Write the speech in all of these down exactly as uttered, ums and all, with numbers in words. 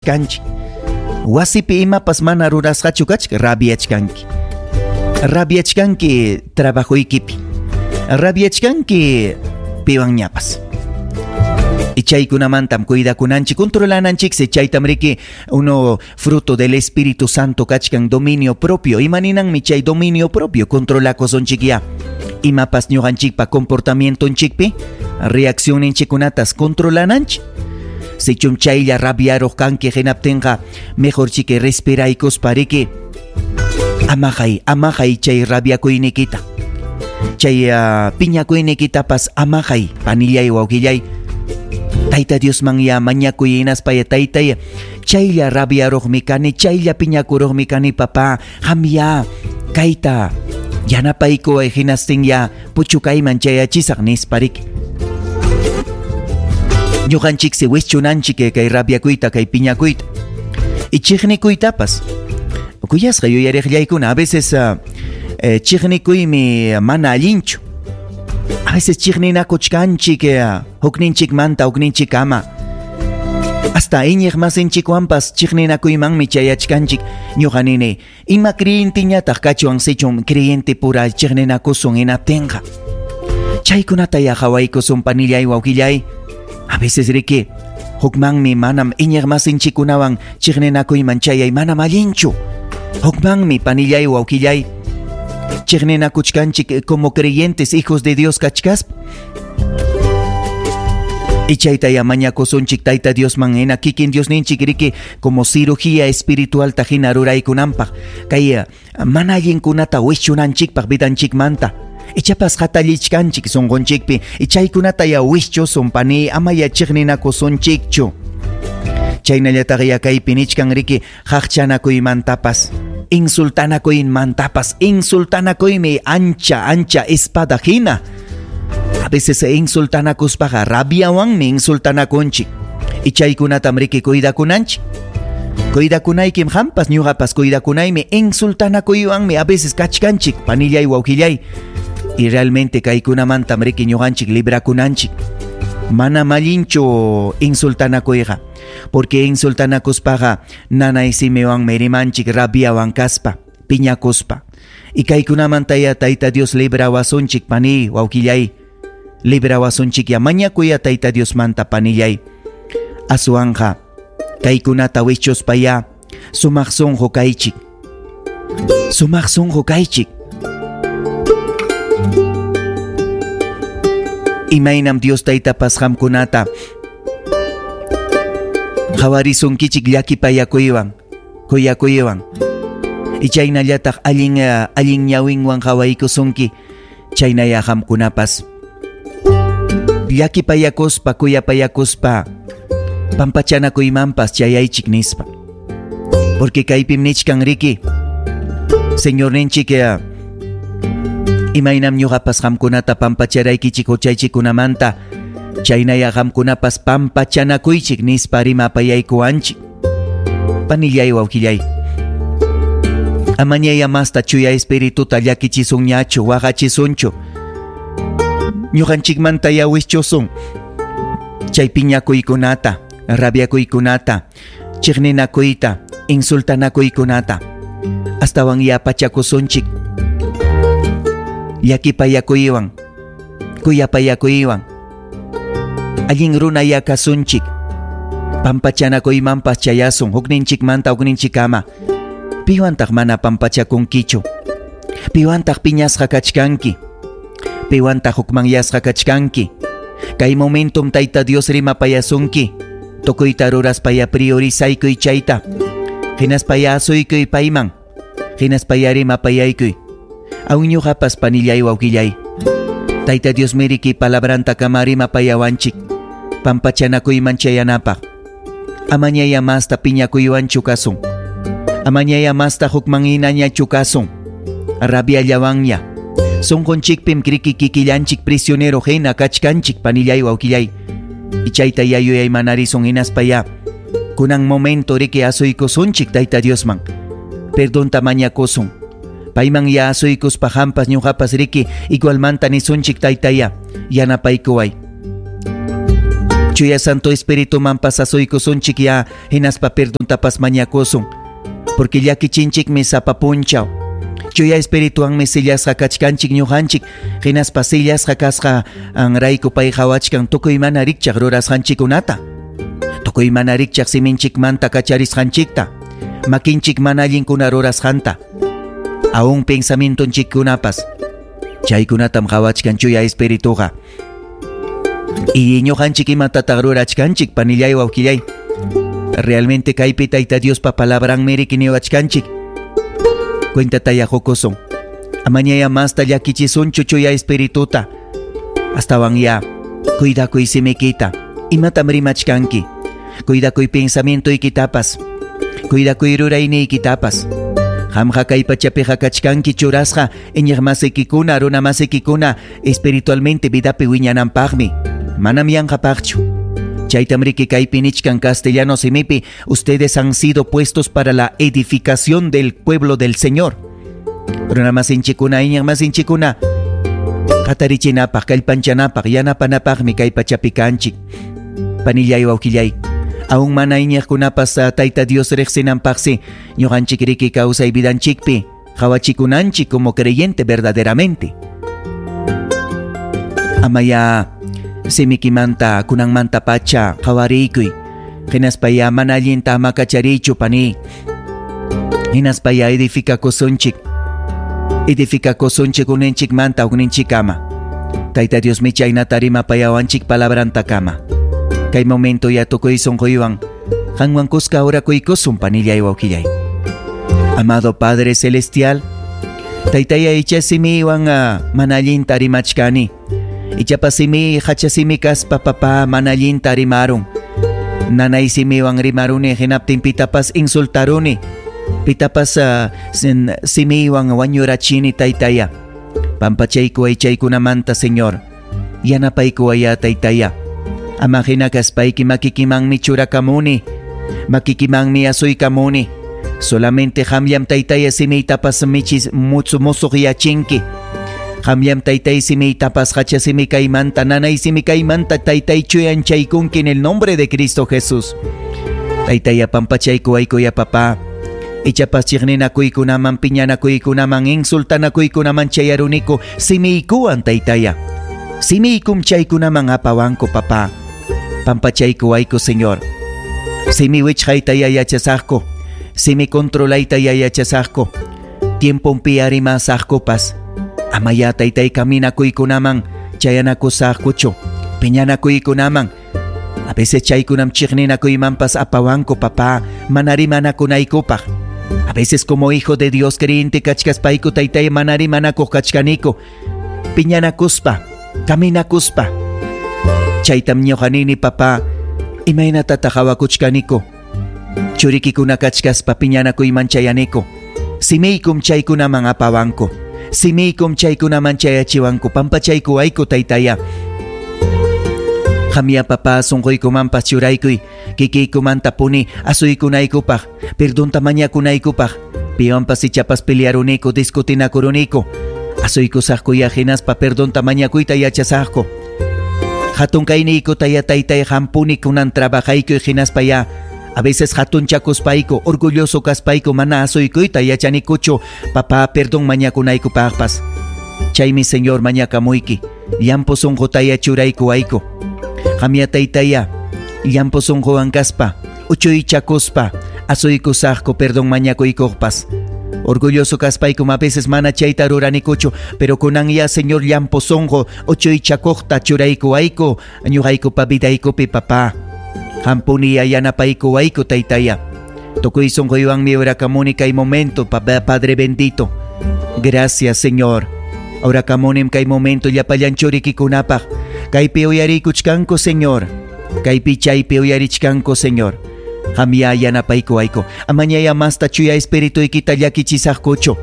Kanchik. Wasipi imapas mana rurasqachu kachka, rabiachkanki. Rabiachkanki trabajoykipi. Rabiachkanki piwanñapas. Y chaykunamantam cuidakunanchik, controlananchik, chaytam riki uno fruto del Espíritu Santo kachkan dominio propio. Imaninanmi chay dominio propio, controlakusunchik ya. Imapas ñuqanchikpa comportamientonchikpi, reaccionninchikkunatas controlananchik. Sichum chaylla rabiaruq kanki hinaptinqa, mejor chiki respiraykuspa riki amajay, amajay chay rabiakuynikita. Chay uh, piñakuynikitapas amajay, panillay wawqillay. Tayta Diosman ya mañakuy hinaspa ya taytay, chaylla rabiaruqmi kani, chaylla piñakuruqmi kani papá, qam ya kayta yanapaykuway hinastin ya puchukayman chayachisaq nispa riki. Ñuqanchiksi wischunanchik kay rabiakuyta, kay piñakuyta. Y chiqnikuytapas. Kuyasqa yuyariqllaykuna, a veces uh, eh, chiqnikuymi mana allinchu. A veces chiqninakuchkanchik eh, hukninchikmanta hukninchikkama. Hasta iñiq masinchikwanpas chiqninakuymanmi chayachkanchik. Ñuqa nini, ima creyentiñataq kachuwan sichum creyente pura chiqninakusun hinaptinqa. Chaykunata ya qhawaykusun panillay wawqillay. A veces riki, hukmanmi manam iñiq masinchikkunawan chiqninakuyman chayay manam allinchu. Hukmanmi panillay wawqillay. Chiqninakuchkanchik como creyentes hijos de Dios kachkaspa. Y chayta ya mañakusunchik Tayta Diosman hina kikin Diosninchik riki como cirugía espiritual ta hina ruraykunanpaq. Kay mana allinkunata wischunanchikpaq vidanchikmanta. Ichapas hatallichkanchik sunqunchikpi, chaykunata ya wischusun pani, ama ya chiqninakusunchikchu. Chaynallataq ya kaypi nichkan riki haqchanakuymantapas, insultanakuymantapas, insultanakuymi ancha ancha espada hina. A veces insultanakuspaqa rabiawanmi insultanakunchik. Y chaykunatam riki cuidakunanchik. Cuidakunaykim qampas ñuqapas cuidakunaymi insultanakuywanmi a veces kachkanchik panillay wawqillay. Y realmente kaykunamantam riki ñuqanchik librakunanchik. Mana allinchu insultanakuyqa, porque insultanakuspaqa nanay simiwanmi rimanchik rabiawan kaspa, piñakuspa. Y kaykunamanta ya Tayta Dios librawasunchik pani wawqillay. Librawasunchik ya mañakuya Tayta Diosmanta panillay. Aswanja kaykunata wichuspa ya sumaq sunqu kaychik. Sumaq sunqu kaychik. Imaynam Dios Taytapas qamkunata qhawarisunkichik llakipayakuywan, kuyakuywan. Y chaynallataq allin allin ñawinwan qhawaykusunki, chaynaya qamkunapas. Llakipayakuspa, kuyapayakuspa, pampachanakuymanpas chayaychik nispa. Porque kaypim nichkan riki, Señorninchik imaynam ñuqapas qamkunata pampacharaykichik huchaychikkunamanta, chaynaya qamkunapas pampachanakuychik nispa rimapayaykuwanchik. Panillay wawqillay, amañaya masta chuya espirituta llakichisunñachu, waqachisunchu. Ñuqanchikmanta ya wischusun chay piñakuykunata, rabiakuykunata, chiqninakuyta, insultanakuykunata. Astawan ya pachakusunchik llakipayakuywan, kuyapayakuywan. Allin runa ya kasunchik, pampachanakuymanpas chayasun hukninchikmanta hukninchikkama. Piwantaq mana pampachakunkichu? Piwantaq piñasqa kachkanki? Piwantaq hukmanyasqa kachkanki? Kay momentum Tayta Dios rimapayasunki. Tukuyta ruraspa ya priorizaykuy chayta. Hinaspa ya asuykuy payman. Hinaspa ya rimapayaykuy. Aun ñuqapas panillay wawqillay. Tayta Dios miriki palabranta kama rimapayawanchik. Pampachanakuyman chayanapaq. Amañaya masta piñakuywanchu kasun. Amañaya masta hukmanhinañachu kasun. Rabiallawanña. Sunqunchikpim kriki kikillanchik prisionero hina kachkanchik panillay wawqillay. Y chayta ya yuyaymanarisun hinaspa ya. Kunan momento riki asuykusunchik Tayta Diosman. Perdonta mañakusun. Payman ya asuykuspa qampas ñuqapas riki igualmanta nisunchik Taytaya yanapaykuway. Chuya Santo Espiritumanpas asuykusunchik ya hinaspa perdontapas mañakusun. Porque llakichinchikmi sapa punchaw. Chuya Espirituwanmi sillasqa kachkanchik ñuqanchik hinaspa sillasqa kasqa anrayku pay qhawachkan tukuy mana rikchaq rurasqanchikkunata. Tukuy mana rikchaq siminchikmanta kacharisqanchikta. Makinchik mana allinkuna rurasqanta. Aún pensamientonchikkunapas. Chaykunatam qhawachkan Chuya Espirituqa. Y ñuqanchik imatataq rurachkanchik panillay wawqillay. Realmente kaypi Tayta Diospa palabranmi riki niwachkanchik. Cuentataya qukusun. Amañaya masta llakichisunchu Chuya Espirituta. Astawan ya cuidakuy simikita. Imatam rimachkanki. Cuidakuy pensamientoykitapas. Cuidakuy rurayniykitapas. Qamqa kay pachapiqa kachkanki churasqa iñiqmasikikuna runamasikikuna espiritualmente vidapi wiñananpaqmi. Manam yanqapaqchu. Chaytam riki kaypi nichkan castellano simipi, ustedes han sido puestos para la edificación del pueblo del Señor. Runamasinchikuna iñiqmasinchikuna qatarichinapaq, kallpanchanapaq, yanapanapaqmi kay pachapi kanchik. Panillay wawqillay. Aún mana iñiqkunapas Tayta Dios riqsinanpaqsi ñuqanchik riki kawsay vidanchikpi qawachikunanchik como creyente verdaderamente. Amaya simikimanta kunanmanta pacha qawariykuy. Hinaspa ya mana allinta ama kachariychu pani. Hinaspa ya edificakusunchik. Edificakusunchik uninchikmanta ukninchikama. Tayta Dios mi chaynata rimapayawanchik palabrantakama. Kay momento ya tukuy sunquywan qanwan kuska orakuykusun panillay wawqillay. Amado Padre Celestial, Taytaya icha simiwan mana allinta rimachkani. Ichapas simi hacha simi kaspa papá mana allinta rimarun. Nanay simiwan rimaruni hinaptin pitapas insultaruni. Pitapas uh, sin, simiwan wañurachini Taytaya. Pampachaykuway chaykunamanta Señor. Yanapaykuwaya Taytaya. Ama hina kaspayki makikimanmi churakamuni. Makikimanmi asuykamuni. Solamente qamllam Taytaya simiytapas michis mutsu musuqyachinki. Qamllam Taytay simiytapas hacha simi kaymanta nanay simi kaymanta Taytay chuyanchaykunki en el nombre de Cristo Jesús. Taytaya pampachaykuwaykuya papá. Ichapas chiqninakuykunaman piñanakuykunaman insultanakuykunaman chayaruniku simiykuwan Taytaya. Simiykum chaykunaman apawanku papá. Pampachaykuwayku Señor. Simi wichqayta yachasaqku. Simi controlayta yachasaqku. Tiemponpi arimasaqkupas. Amaya Taytay kaminakuykunaman chayanakusaqkuchu. Piñanakuykunaman. A veces chaykunam chiqninakuymanpas apawanku papá. Mana rimanakunaykupaq. A veces como hijo de Dios creyente kachkaspayku Taytay mana rimanakuq kachkaniku. Piñanakuspa. Kaminakuspa. Chaytam ñuqanini papá. Imaynatataq hawakuchkaniku. Churikikuna kachkaspa piñanakuyman chayaniku. Simiykum chaykunaman apawanku. Simiykum chaykunaman chayachiwanku. Pampachaykuwayku Taytaya. Qamya papá sunquykumanpas churaykuy. Kikiykumantapuni asuykunaykupaq. Perdonta mañakunaykupaq. Piwanpas ichapas pelearuniku discutinakuruniku. Asuykusaqkuya hinaspa perdonta mañakuyta yachasaqku. Hatun kayniykuta ya Taytay hampuni kunan trabajaykuy hinaspa ya. A veces hatunchakuspayku, orgulloso kaspayku mana asuykuyta yachanikuchu. Papá, perdón mañakunaykupaqpas. Chaymi Señor mañakamuyki. Llampu sunqutaya churaykuwayku. Qamya Taytaya, llampu sunquwan kaspa, uchuychakuspa, asuykusaqku perdón mañakuykuqpas. Orgulloso kaspaykum a veces mana chayta ruranikuchu, pero kunan ya Señor llampu sunqu uchuychakuqta churaykuwayku, ñuqaykupa vidaykupi papá. Hampuni ya yanapaykuwayku Taytaya. Tukuy sunquywanmi orakamuni kay momento, Padre bendito. Gracias, Señor. Orakamunim kay momento llapallan churikikunapaq. Kaypi uyarikuchkanku, Señor. Kaypi chaypi uyarichkanku, Señor. Qamya yanapaykuwayku. Amañaya masta chuya espirituykita llakichisaqkuchu.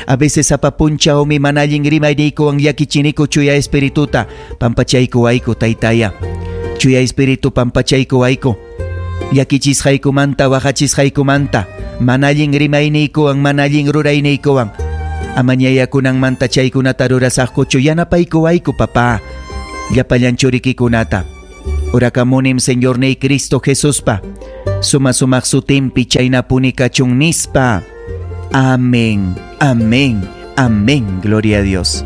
A veces sapa punchawmi mana allin rimayniykuwan llakichiniku chuya espirituta. Pampachaykuwayku, Taytaya. Chuya espíritu pampachaykuwayku. Llakichisqaykumanta waqachisqaykumanta. Mana allin rimayniykuwan mana allin rurayniykuwan. Amañaya kunanmanta chaykunata rurasaqkuchu yanapaykuwayku papá. Llapallan churikikunata. Orakamunim Señorniy Cristo Jesuspa. Suma sumaq sutinpi chaynapuni kachun nispa. Amén, amén, amén. Gloria a Dios.